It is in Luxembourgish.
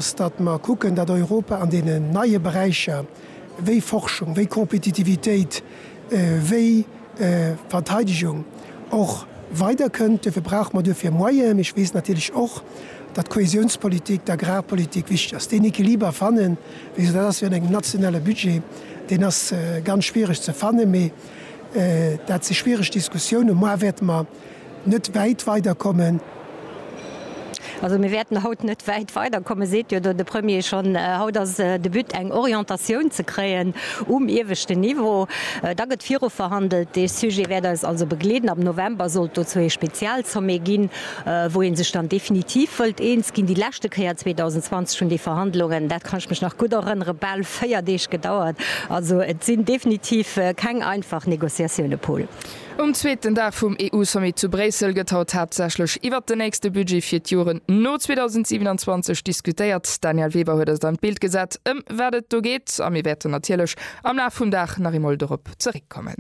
Datt mer kucken, datt Europa an deenen neie Beräicher wéi Forschung, wéi Kompetitivitéit, wéi Verteidegung och weiderkënnt. Duerfir brauche mer duerfir Moyenen. Mee ech weess natierlech och, datt d'Kohesionspolitik, d'Agrarpolitik wichteg ass. Deen Equiliber fannen, wéi gesot, dat ass wéi an engem nationale Budget, deen ass ganz schwiereg ze fannen. Mee dat si schwiereg Diskussiounen. Moar wäerte mer net wäit weiderkommen. Also mir wäerten haut net wäit weiderkommen, seet jo do de Premier schonn. Haut ass de But, eng Orientatioun ze kréien um ieweschten Niveau. Da gëtt viruverhandelt. Dee Sujet wäert eis also begleeden. Am November sollt dozou ee Spezialsommet ginn, wou ee sech dann definitiv wëllt eens ginn. Déi leschte Kéier 2020 hunn déi Verhandlungen, dat kann ech mech nach gutt erënneren, bal 4 Deeg gedauert. Also et sinn definitiv keng einfach Négociatioune, Paul. Um zweeten Dag vum EU-Sommet zu Bréissel gëtt haut haaptsächlech iwwert den nächste Budget fir d'Joren no 2027 diskutéiert. D'Danièle Weber huet eis an d'Bild gesat, ëm wat et do geet, a mir wäerten natierlech am Laf vum Dag nach eemol dorop zeréckkommen.